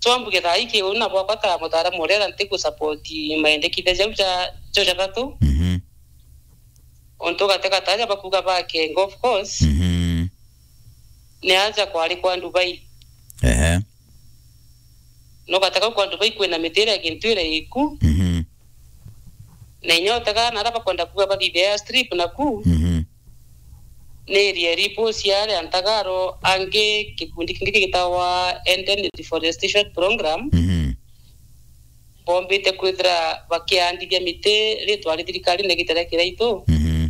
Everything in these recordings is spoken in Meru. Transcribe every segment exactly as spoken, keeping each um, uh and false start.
So ambuge thaa ii kiuni na bwakwa ta mutaaramu uria era ntigu support maendekithia jau ja, jo jathatu. Mhm. Untu gatega taja bakuuga ba Kengo, of course. Mhm. Ni aja kwari kwa Dubai. Ehe. No gatega kwa Dubai kwina miti iria gintu iria iku. Mhm. Na inya utega na aria bakwenda kuuga bathithia airstrip naku. Mhm. Ni area ripo cia aria ntagaro angi gikundi kingi gigitawa Enden Reforestation Program. Mhm. Bombite kwithira bakiandithia miti ritwa ri thirikari na gitara kiraitu. Mhm.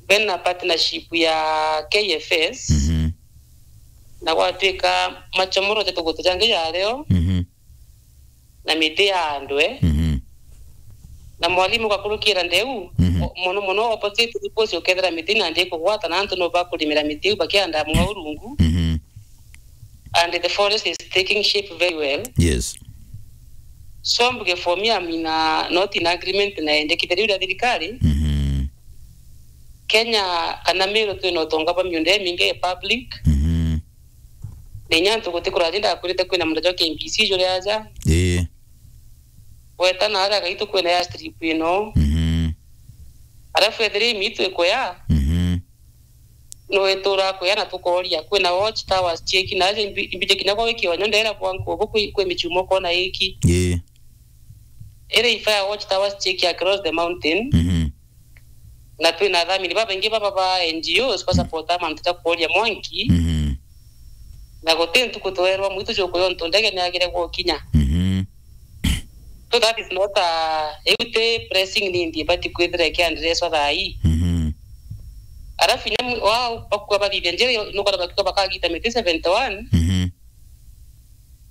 Bena partnership ya K F S. Mhm. Na gwatwika machomoro ja tugutu jangi jario. Mhm. Na miti ya andwe. Mhm. Na mwalimu gakurukira ndeu, mhm, o-, mono mono opposite riposi ukethira miti na ndi kugwata na antu no bakurimira miti iu bakianda mwa urungu. Mhm. And the forest is taking shape very well. Yes. So mbuge for me, I'm in a, not in agreement na endekithia riu ria thirikari. Mhm. Kenya kana Meru twina utonga bwa miunda imingi ya public. Mhm. Na inya antu guti kurathi ndakwirite kwina munda jwa K B C juri aja. Ii. Weta na aria gaitu kwina airstrip ino. Mhm. Alafu ethire imitu ikuya. Mhm. No itura kuya na tukoria kwina watch towers chieki na aja imbi-, imbije kinya kwa wiki wanyo ndera kwa nkubu kwi, kwi michumo kona iki. Ii. Iri ifaya watch towers chieki across the mountain. Mhm. Na twina athamini babaingi baba ba N G Os basapota mantu ja kuoria mwanki. Mhm. Na guti ntuku twerwa mwitu jukuya untu ndege niagire gukinya. Mhm. So that is not a, iu ti pressing need ibati kwithira ikiandreswa thaa ii. Mhm. Alafu inya mwi-, wa bakua bathithia njira, nukona bakua bakagita miti seventy one. Mhm.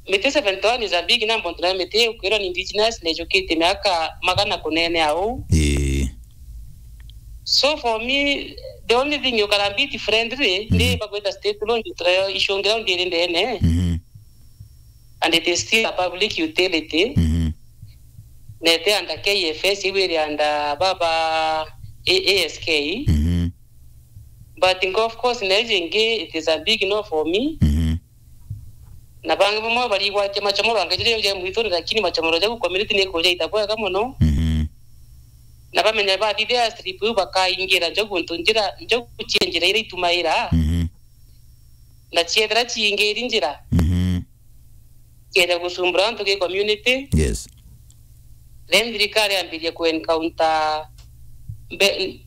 Miti seventy one is a big number, ontu nayo miti ikwirwa ni indigenous na ijukite miaka magana kunene au. Ii. So for me, the only thing you can be friendly, mhm, ni bagwita state launch, turayo icungira ndiri ndene. Mhm. And it is still a public utility. Mhm. Na iti under K F S, iu iri under baba A-, A S K. Mhm. But of course, na iji ingi, it is a big no for me. Mhm. Na bangi bamwe barigwatia machomoro angi jiria ja mwituni, lakini machomoro jau community ni kuja ita bwega mono. Mhm. Na bamenya bathithia airstrip iu bakaingira njogu ntu njira, njogu cia njira iria itumaira. Mhm. Na ciethira ciingiri njira. Mhm. Kieja gusumbura antu ki community. Yes. Then thirikari yambirie ku encounter mbe-,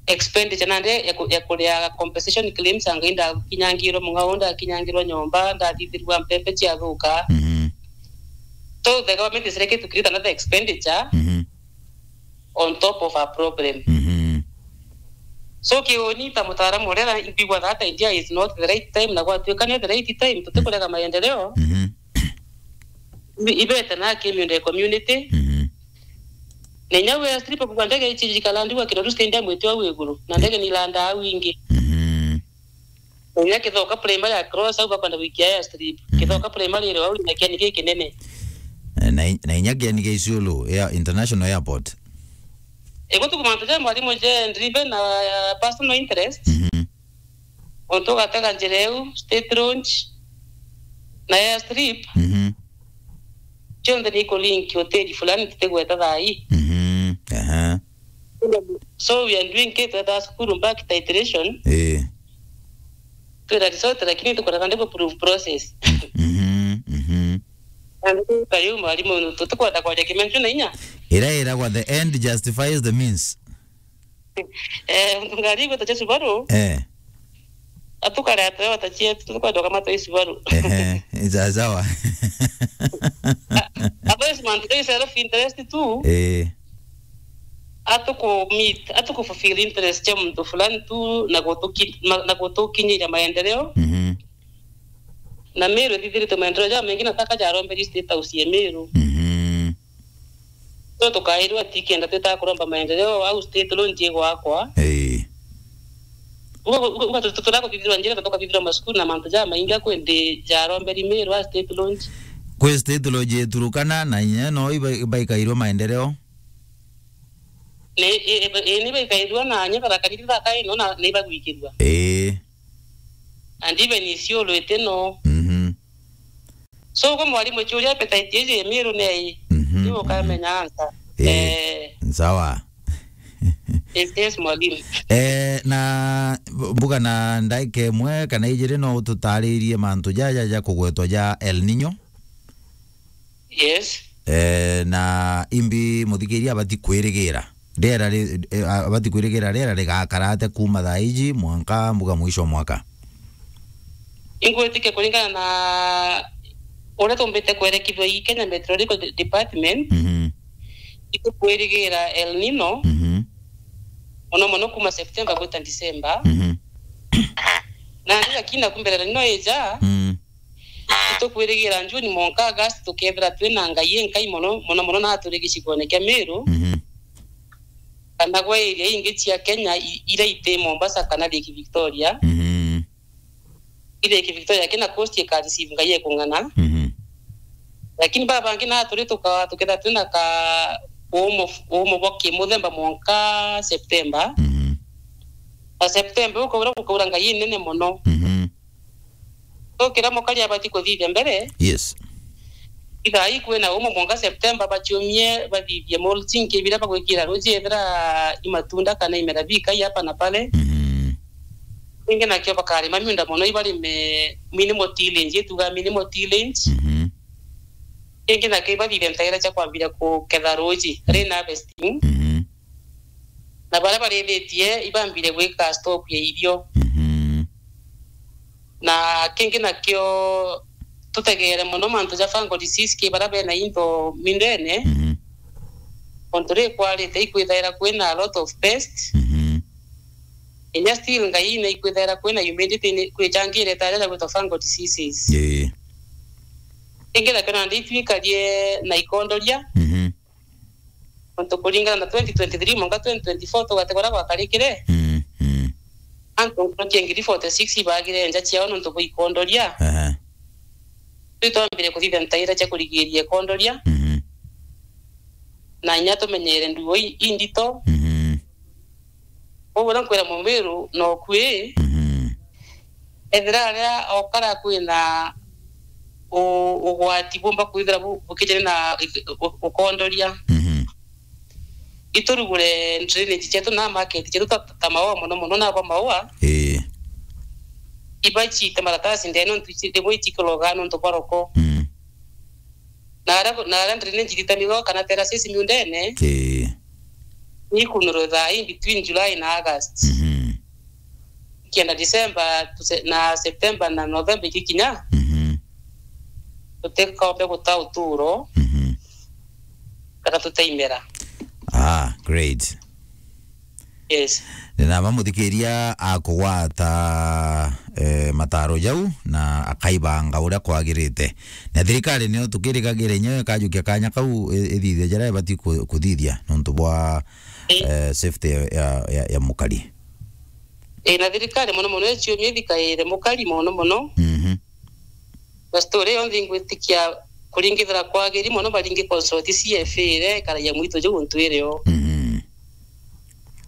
expenditure nandi ya ku-, ya kuria compensation claims, anga indakinyangirwe mung'ao, ndakinyangirwe nyomba, ndathithirwa mpembe ciathuka. Mhm. So the government is likely to create another expenditure, mhm, on top of a problem. Mhm. So kiuni ta mutaaramu uria na mbigua that idea is not the right time, na gwatuika ni the right time, tutikurega maendeleo. Mhm. Ibe-, ibete na ki miunda ya community. Mhm. Na inya we airstrip kuga ndege ici jikala ndigwa Kiroru Stadium itio au iguru, na ndege ni ilanda au ingi. Mhm. Na inya Kithoka Primary across au bakwenda gwikia airstrip. Mhm. Kithoka Primary iri au na kiani gikinene. Eh, na i-, na inya kiani gia Isiolo Air-, International Airport. Igutuku mantu ja mwalimu je driven na, uh, personal interest. Mhm. Untu ugatega njira iu, state launch, na airstrip, mhm, cionthe ni ikulink hoteli fulani tutigweta thaa ii. Mhm, aha. So we are doing it, twethaa cukuru back titration. Eh. Twira resort, lakini tukoraga ndiko proof process. Mhm, mhm. Na ndio kayu mwalimu, tutikwenda kwaria kimenju na inya. Ira iragwa, the end justifies the means. Eh, untu ngari igwetwa cia Subaru. Eh. Atukare atoe wata cietu, tukwenda kama toi Subaru. Ehe, sawa sawa. Abo is mantu toi self interest tu. Eh. Atuku meet, atuku fulfill interest cia muntu fulani tu, na gutuki-, ma-, na gutukinyiria maendeleo. Mhm. Na Meru ithithiritwe maendeleo jamaingi na taka jaromberi State House ya Meru. Mhm. So tukairwa tikenda twita kuromba maendeleo au state launch igwakwa. Ii. Uga, uga, uga tu-, tu-, turakuthithirwa njira, tukathithirwa masukuru na mantu jamaingi akwendi jaromberi Meru a state launch. Kwi state launch iturukana na inya no iba-, ibaikairwa maendeleo? Ni, i-, i-, i-, ni baikairwa na nya Tharaka Nithi thaka ino na ni bagwikirwa. Ii. And even Isiolo iti no. Mhm. So, kwa mwalimu, churia appetite iji Miru nei. Mhm, Ni ukamenya answer. Eh, Eh. Sawa. Yes, yes, mwalimu. Eh, na mbuga na ndaika imwe kana ijiri no ututaririe mantu jaja ja kugwetwa ja El Nino? Yes. Eh, na imbi muthikiria abati kwirigira? Riera ri-, eh, abati kwirigira riera rigakara atia kuuma thaa iji mwanka mbuga mwisho wa mwaka? Ingwitikia kuringana na uria tumbite kwerekithua i Kenya Meteorological De-, Department, Mhm. itukwirigira El Nino, Mhm. mono mono kuuma September gwita December. Mhm. Na ndi lakini naku mbere El Nino ija, Mm. Itukwirigira June mwanka August tukethira twina ngai inkai mono, mono mono na turi gicigone kia Miru, Mhm. kana gwa area ingi cia Kenya i-, iria iti Mombasa kana Lake Victoria. Mhm. I Lake Victoria kina coast ika receive ngai ikung'ana. Mhm. Lakini baba bangi na turi tuka-, tukethira twina ka umo, umo bwa kimuthemba mwanka September. Mhm. Na September ukaura gukaura ngai inene mono. Mhm. So, kiria mukari abati kuthithia mbere, Yes. ithaa ii kwina umo mwanka September, baciumie bathithie mulching, kibira bagwikira ruji ethira i matunda kana imera bikai hapa na pale. Mhm. Kingi nakio bakarima miunda mono, ibarime minimal tillage, ituga minimal tillage. Mhm. Kingi nakio ibathithie ntaira cia kwambiria kuketha ruji, rain harvesting. Mhm. Na baria barithitie ibambire gwika stock ya irio. Mhm. Na kingi nakio tutegeere mono mantu ja fungal disease ki baria bena into mindene. Mhm. Ontu ri kwarite ikwithaira kwina a lot of pest. Mhm. Inya still ngai na ikwithaira kwina humidity ni kwicangire taria ja gwitwa fungal diseases. Ii. Kingi nakio nandi itwikarie na ikondoria. Mhm. Nontu kuringana na twenty twenty-three mwanka twenty twenty-four tugate kuria gwakarikire, Mm, mm. Antu nkuruki ngiri forty-six ibagire nja ciao nontu bwa ikondoria. Aha. Riu twambire kuthithia ntaira cia kurigiria ikondoria, Mhm. na inya tumenyere nduo i-, indito. Mhm. Koguo na nkwira Mumiru nokui, Mhm. ethira aria okara kwina u-, ugwati bumba kwithira bu-, bukijene na u-, ukondoria. Mhm. Iturugure drainage cietu na market cietu ta, ta maua mono mono na bwa maua. Ii. Iba ciite maratasi ndene nontu ici rimwe icikologa nontu bwa roko. Mm. Na aria, na aria drainage ithitanigo kana terraces miundene, Ii. Ni ikunurwe thaa ii between July na August. Mhm. Kienda December, tuse-, na September na November ikikinya, Mhm. tutikombe guta uturo, Mhm. kana tutaimera. Ah, great. Yes. Ni nama muthikiria akugwata, eh, mataro jau na akaibanga uria kwagirite. Na thirikari nio tukirigagire inyo ikajukia kanya kau i-, ithithia jaria ibati ku-, kuthithia nontu bwa, Ii. eh, safety ya, ya, ya, ya mukari. Ii, na thirikari mono mono iciumia ithikaire mukari mono mono. Mhm. Na story yonthe ingwitikia kuringithira kwagiri mono baringi consult C F A iria ikaragia mwitu juu ntwire o. Mhm.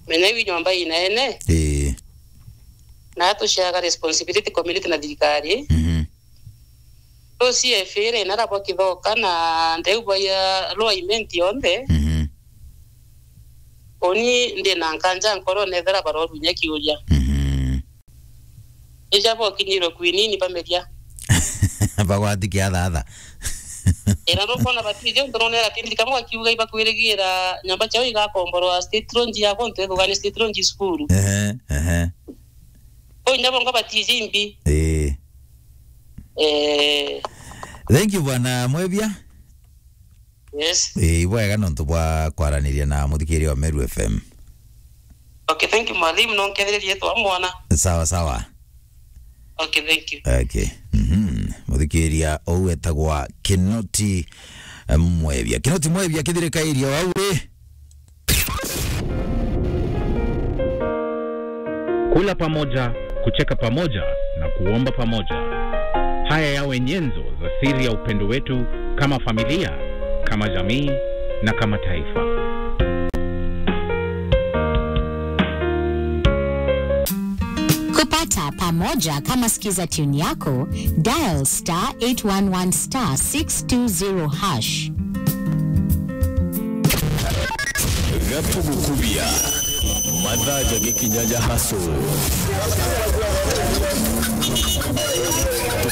Menya iu nyomba inaene. Ii. Na atuciaga responsibility community na thirikari. Mhm. So C F A iria inara bwa kithoka na ndeu bwa ya lower imenti yonthe. Mhm. Uni ndina nkanja nkorone ethira barorunya kiuria. Mhm. Ija bokinyirwe kwinini bameria. Bagwati kiathatha. Ira ndukona batiji untu nonera tindi kamwe akiuga ibakwirigira nyomba ciao igakomborwa state lounge ya gontu ethugani state lounge cukuru. Ehe, ehe. Ko inya bonga batiji imbi. Ii. Eh. Thank you, Bwana Mwebia. Yes. Ii, ibwega nontu bwa kwaraniria na muthikiria wa Meru F M. Okay, thank you, mwalimu. No nkethiririe twa mwana. Sawa, sawa. Okay, thank you. Okay. Mhm. Muthikiria ou etagwa Kinoti, eh, Mwebia. Kinoti Mwebia, kithirikairia wau ri? Kula pamoja, kucheka pamoja na kuomba pamoja. Haya yawe nyenzo za siri ya upendo wetu kama familia, kama jamii na kama taifa. Kupata Pamoja kama Skiza tune yako, dial star eight one one star six two zero hash. Gatugukubia mathaa ja gikinya ja haso.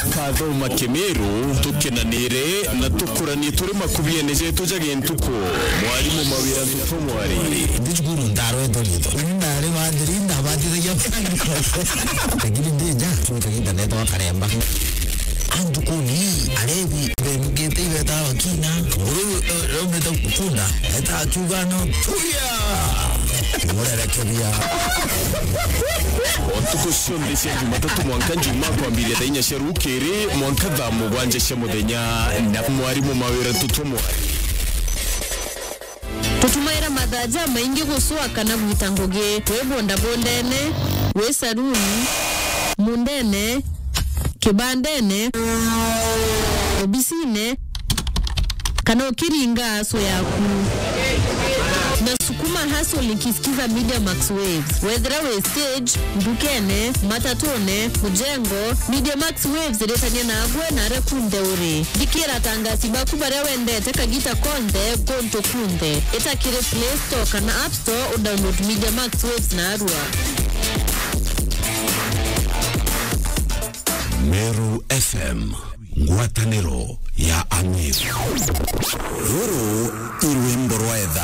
Tukathoma Kimiru, tukenanire na tukuranie turi makubiene jetu ja gintuku. Mwarimu Mawira Ntutu Mwari. Ndi cukuru ndarwetwo riitwa. Uni ndari bathiri, ndabathithagia. Lakini ndi nja, cuntu kagiita neetwa karemba. Antu kuni, arebi, bemugite ibeta bakina. Nguru, eh, raumite kunda, eta akiuga no, "Turia!" Murerekebia. O ntuku cionthe cia Jumatatu mwanka Njumaa kwambiria thaa inya cia rukiri mwanka thaa mugwanja cia muthenya na mwarimu Mawira Ntutu Mwari. Tutumaira mathaa jamaingi gucua kana gwita ngugi, wi bondabondene, wi saruni, mundene, kibandene, obisine, kana ukiringa aso yaku. Na sukuma hustle nikisikiza Media Max Waves. Wethira wi stage, ndukene, matatune, mujengo, Media Max Waves iritania nagwe na aria kunthe uri. Thikira atangasi baku baria wendete kagita konthe, guntu kunthe. Ita kiri Play Store kana App Store udownload Media Max Waves narua. Meru F M, ngwataniro ya Amiru. Ruru i rwimbo rwa etha.